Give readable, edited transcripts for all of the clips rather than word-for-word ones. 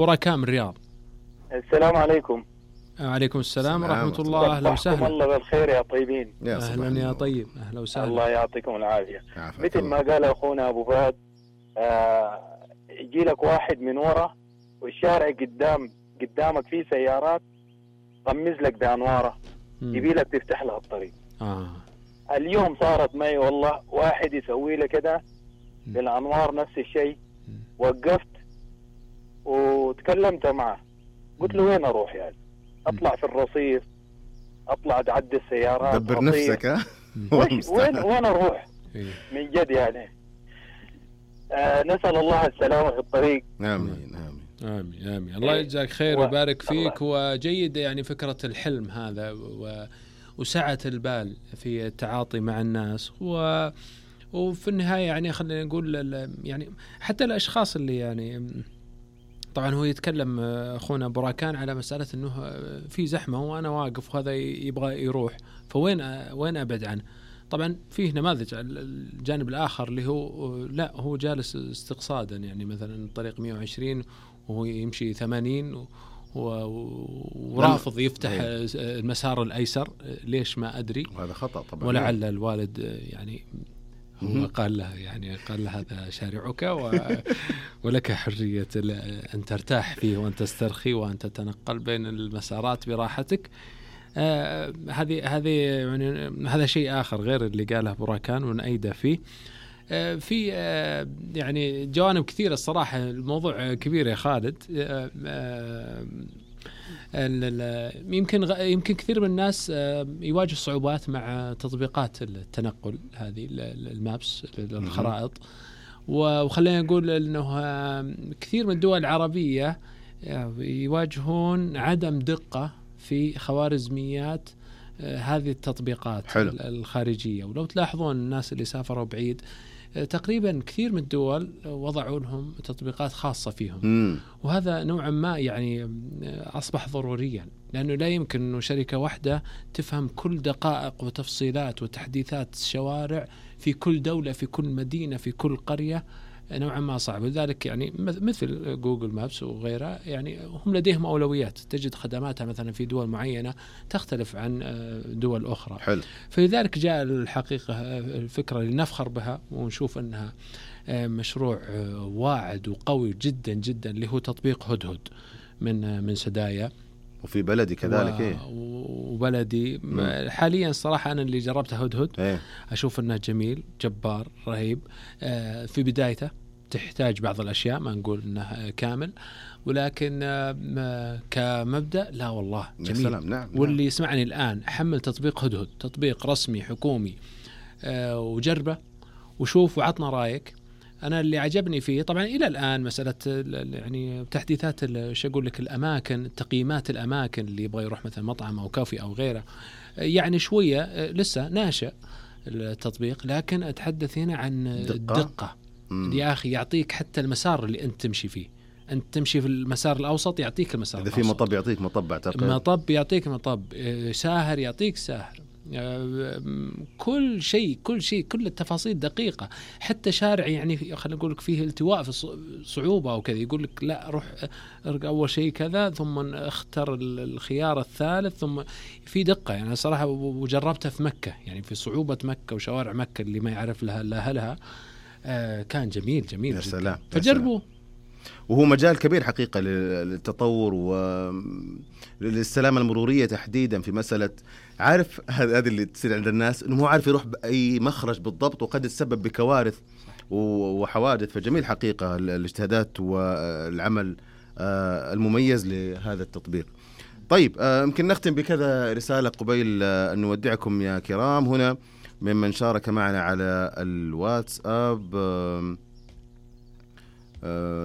بركان من الرياض. السلام عليكم. وعليكم السلام ورحمة الله. أهلا وسهلا. الله بالخير يا طيبين. أهلا يا طيب، أهلا وسهلا. الله يعطيكم العافية. مثل ما قال أخونا أبو فهد، يجي لك واحد من ورا والشارع قدامك فيه سيارات، طمز لك بأنواره، يبي لك تفتح له الطريق. اليوم صارت معي والله، واحد يسوي لي كده بالأنوار نفس الشيء. وقفت وتكلمت معه، قلت له وين أروح يعني؟ أطلع في الرصيف، أطلع أتعدي السيارات، دبر نفسك. ها وين أروح من جد يعني. نسأل الله السلامة في الطريق. آمين آمين آمين آمين. الله يجزاك خير ويبارك فيك. وجيد يعني فكرة الحلم هذا وسعة البال في التعاطي مع الناس. وفي النهاية يعني خلينا نقول يعني حتى الأشخاص اللي يعني طبعا هو يتكلم أخونا براكان على مسألة أنه في زحمة وأنا واقف وهذا يبغى يروح، فوين أبعد عنه؟ طبعا فيه نماذج الجانب الآخر اللي هو لا، هو جالس استقصادا، يعني مثلا طريق 120 وهو يمشي 80 ورافض يفتح المسار الأيسر. ليش ما أدري، وهذا خطأ طبعا. ولعل الوالد يعني هو قال له هذا شارعك ولك حرية أن ترتاح فيه وأن تسترخي وأن تتنقل بين المسارات براحتك. هذه يعني هذا شيء آخر غير اللي قاله براكان ونأيده فيه. في يعني جوانب كثيرة الصراحة. الموضوع كبير يا خالد. يمكن كثير من الناس يواجه صعوبات مع تطبيقات التنقل هذه المابس الخرائط. وخلينا نقول أنه كثير من الدول العربية يواجهون عدم دقة في خوارزميات هذه التطبيقات. حلو. الخارجية. ولو تلاحظون الناس اللي سافروا بعيد تقريبا كثير من الدول وضعوا لهم تطبيقات خاصة فيهم. وهذا نوعا ما يعني أصبح ضروريا، لأنه لا يمكن أنه شركة واحدة تفهم كل دقائق وتفصيلات وتحديثات الشوارع في كل دولة، في كل مدينة، في كل قرية. نوعا ما صعب. لذلك يعني مثل جوجل مابس وغيرها يعني هم لديهم أولويات. تجد خدماتها مثلا في دول معينة تختلف عن دول أخرى. حلو. فلذلك جاء الحقيقة الفكرة اللي نفخر بها ونشوف أنها مشروع واعد وقوي جدا جدا، اللي هو تطبيق هدهد من سدايا. وفي بلدي كذلك. وبلدي حاليا صراحة أنا اللي جربته هدهد. أشوف أنه جميل جبار رهيب. في بدايته تحتاج بعض الأشياء، ما نقول أنه كامل، ولكن كمبدأ لا والله جميل. نعم. واللي يسمعني الآن حمل تطبيق هدهد، تطبيق رسمي حكومي، وجربه وشوف وعطنا رأيك. أنا اللي عجبني فيه طبعا إلى الآن مسألة يعني تحديثات شو أقول لك، الأماكن، تقييمات الأماكن اللي يبغى يروح مثلا مطعم أو كافي أو غيره، يعني شوية لسه ناشئ التطبيق. لكن أتحدث هنا عن الدقة. يا أخي يعطيك حتى المسار اللي أنت تمشي فيه. أنت تمشي في المسار الأوسط يعطيك المسار الأوسط. إذا في مطب يعطيك مطب، أعتقد مطب يعطيك مطب، ساهر يعطيك ساهر. كل شيء كل التفاصيل دقيقة. حتى شارع يعني خلينا نقول لك فيه التواء في صعوبة أو كذا، يقول لك لا روح أول شيء كذا ثم اختر الخيار الثالث، ثم في دقة. يعني صراحة وجربتها في مكة، يعني في صعوبة مكة وشوارع مكة اللي ما يعرف لها إلا أهلها. كان جميل يا سلام. فجربوا. وهو مجال كبير حقيقة للتطور وللسلامة المرورية تحديدا. في مسألة عارف هذه اللي تصير عند الناس إنه هو عارف يروح بأي مخرج بالضبط، وقد يتسبب بكوارث وحوادث. فجميل حقيقة الاجتهادات والعمل المميز لهذا التطبيق. طيب يمكن نختم بكذا رسالة قبيل أن نودعكم يا كرام هنا ممن شارك معنا على الواتساب.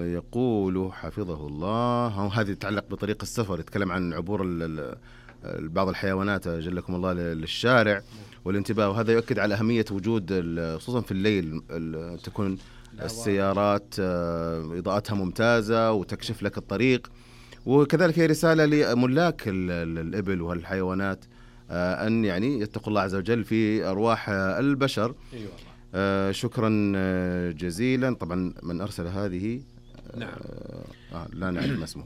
يقول حفظه الله، هذه تتعلق بطريق السفر، يتكلم عن عبور بعض الحيوانات جلكم الله للشارع والانتباه. وهذا يؤكد على أهمية وجود خصوصا في الليل تكون السيارات إضاءتها ممتازة وتكشف لك الطريق. وكذلك هي رسالة لملاك الإبل والحيوانات أن يعني يتقوا الله عز وجل في أرواح البشر. شكرا جزيلا. طبعا من أرسل هذه نعم. لا نعرف ما اسمه.